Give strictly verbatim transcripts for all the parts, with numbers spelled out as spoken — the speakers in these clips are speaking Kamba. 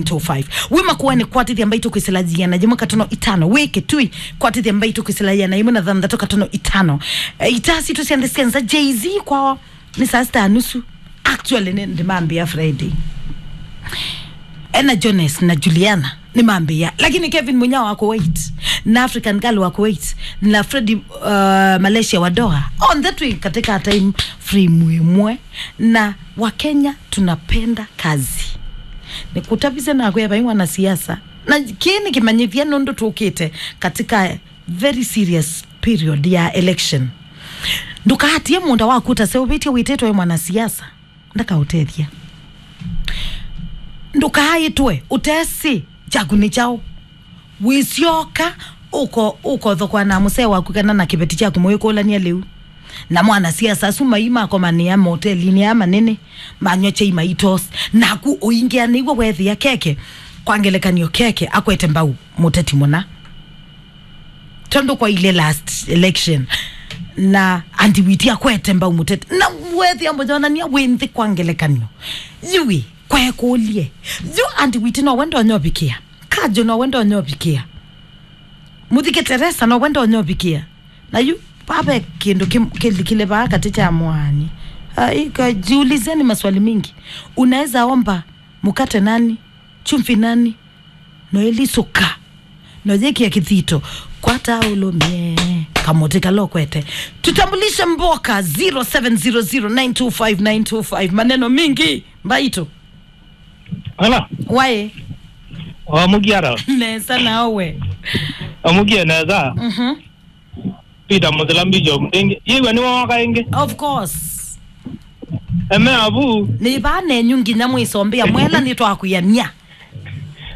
two five. Wĩ Makueni, kwatĩthya Mbaitũ kwĩsĩla yĩana yĩmwe katono itano. Wĩ Kitui, kwatĩthya Mbaitũ kwĩsĩla yĩana yĩmwe na thanthatũ katono itano. E, itaa sitũ sya nthĩ sya nza, Jay-Z kwao nĩ saa sita na nusu. Actually, nĩ ndĩmambĩa Friday. Ena Jones na Juliana nĩmambĩa. Lakini Kevin Munya wa Kuwait, na African Girl wa Kuwait, na Freddy, uh, Malaysia wa Doha. Onthe twĩ katika time frame ĩmwe. Na Wakenya tunapenda kazi. Nĩkũtavisye nakwĩa vai mwanasiasa. Na kĩĩ nĩ kĩmanyĩthya nũndũ tũkĩte katika very serious period ya election. Ndũkaatie mũũnda waku ũtaseũvĩtye wĩtĩtwe wĩ mwanasiasa. Ndakaũtethya. Ndũkaaĩtwe ũtesĩ kyaku nĩ kyaũ. Wĩsyoka, ũko-, ũkothokwa na mũsee waku kana na kĩveti kyaku mũikũlany'a lĩu. Na mwanasiasa asu mai makomanĩa motelinĩ aa manene, manyw'a kyai maitos. Naku ũingĩa nĩw'o weethĩa keke, kwa ngelekany'o keke, akwete mbau mũteti mũna. Tondũ kwa ile last election, na Anti Witi akwete mbau mũteti. Na weethĩa mũyonany'a wĩ nthĩ kwa ngelekany'o. Yu ĩ, kwa ekũlye. Yu Anti Witi nowe ndonyovikĩa. Kajo nowe ndonyovikĩa. Mũthike Teresa nowe ndonyovikĩa. Na yu, vave kĩndũ kĩ-, kĩlikile vaa katĩ kya mwani. Ai, ka-, jiulizeni maswali mingi. Unaweza omba mkate nani? Chumvi nani? No ĩlisuka. No yĩkĩa kĩthito. Kwata ũlũmie. Kamũtĩ kala ũkwete. Tutambulishe mboka, zero seven zero zero nine two five nine two five. Maneno mingi. Mbaitũ. Ala. Waĩ. Wamukia ara. Nesa nawe. Amukie nesa. Mhm. Peter Muthila Bishop ĩngĩ. Yĩw'a nĩ woka ĩngĩ. Of course. Eme avu. Nĩ vaa nenyu nginya mwĩsombea mwela nĩtwakwĩanĩa.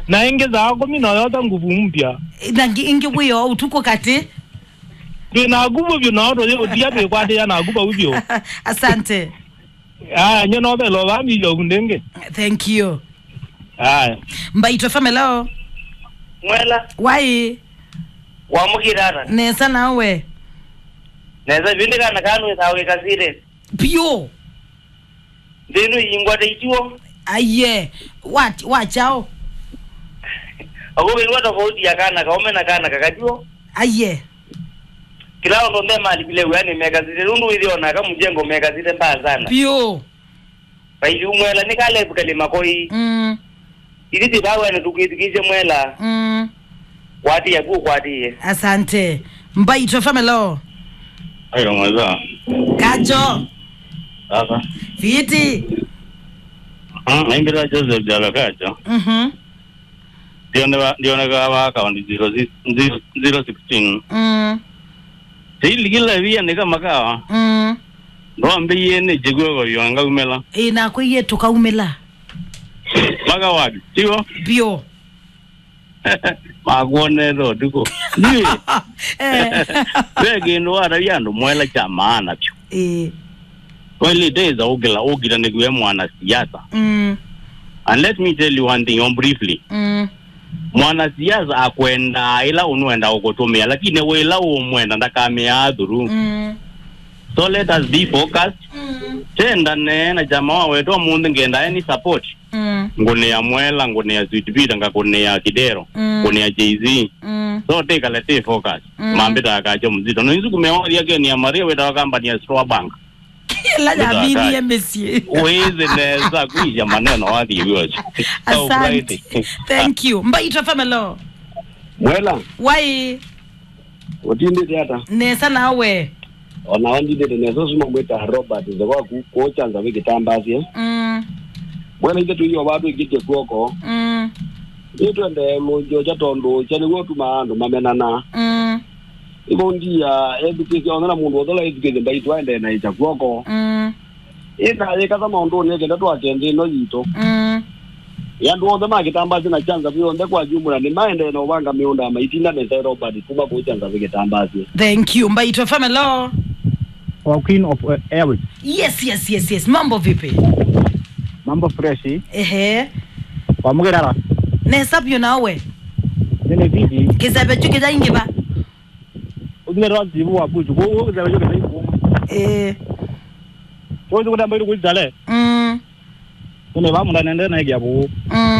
Na ĩngĩ saa kũmi noyota nguvu mpya. Na ngi-, ĩngĩ wĩo ũtukũ katĩ. Twĩ na nguvu vyũ na oto yĩ ũtia twĩkwatĩa na nguvu vyũ. Asante. Aya, nye no velo vaa Bishop ndĩngĩ. Thank you. Aya. Mbaitũ F M, hello. Mwela. Waĩ. Wamũkĩra ata? Nesa nawe. Nesa, vindi kana kanu ĩsawa ĩkasire. Pio. Ndinu yingwa ta ituo. Aye. Wa, wa chao. Ako wĩwa tofauti ya kana kaume na kana kakatuo. Aye. Kila ũndũ nde malikile wĩanĩ mekasite, nũndũ wĩthĩwa naka mũjengo mekasite mbaa sana. Pio. Vaithi umwela nĩ kalevu kalĩ makoi. Mm. Ithi ti vawene tũkwĩthukĩĩsye mwela. Mm. Kwatĩĩa ku ũkwatĩĩe. Asante. Mbaitũ F M, hello. Ayo mwaza. Kajo. Sasa. Fiti. Ah, naingĩra Joseph Jala Kajo. Mhm. Ndioneka, ndioneka wa account zero six, zero, zero sixteen. Mm. Sili kila via nika makawa. Mm. Ndo ambiye ni jigwe kwa yonga umela. Ĩ, na kwĩie tũkaumĩla. Maka wapi? Tigo? Bio. Makuonete ũtukũ. Ndiwe. Eh. Ve kĩndũ watavya andũ mwela kya maana vyũ. Ĩ. Kweli teza ũkĩla, ũkĩla nĩkuwe mwanasiasa. Mm. And let me tell you one thing on briefly. Mm. Mwanasiasa akwendaa ĩla ũnwenda ũkũtũmĩa, lakini wĩla ũmwenda ndakamĩaa through. Mm. So let us be focused. Mm. Tendane na chama wa wetu ũmũnthĩ ngenda any support. Mm. Ngũnĩa Mwela, ngũnĩa Sweet Peter, ngakũnĩa Kidero, mm, ngũnĩa Jay-Z. Mm. So tĩkale tĩ focus. Mm. Mambĩtaa Kajo Mzito. No inzu kumeoria keni ya Maria wetawa company ya Store Bank. Ĩla yaminie mĩsyĩ. Wĩthĩ nesa kuisha maneno wathi vyote. Asante. Thank you. Mbaitũ F M, hello. Mwela. Wai. Ũtindĩte ata? Nesa nawe. Ona wandindĩte nesa, ũsu mamwĩta Robert, nze waku, kũũkyanza wĩ kĩtambasye. Mm. Mwena ithe tũio vatũ ĩngĩtye kw'oko. Mm. Nĩtwendee mũnzyocha tondũ ũkya nĩw'o ũtumaa andũ mamenana. Mm. Ĩvo ndia ethukĩsya ona na mũndũ othe ũla ethukĩsye Mbaitũ aendee na ĩkya kw'oko. Mm. Ĩna yĩkatha maũndũnĩ kenda twake nthĩ ĩno yitũ. Mm. Ĩ andũ onthe ma Kĩtambasĩ na Kyanza kwĩ onthe kwa jumla nĩmaendee na ũvanga mĩũnda maitinda nesa Robert kuma kũu Kyanza kwĩ Kĩtambasĩ. Thank you. Mbaitũ F M, hello. Our queen of, uh, airways. Yes, yes, yes, yes. Mambo vipi? Mambo fresh. Ehe. Wamũkĩra ata? Nesa vyũ nawe. Nene viti. Kĩseve kyu kĩyaingĩva. Ũthile twa tivu wa buchu. Kũu kĩseve kyu kĩyaingĩva. Eh. Kũu kũtamba ilu kuitale. Mm. Nene va mũnda nende na ĩkĩa vuu. Mm.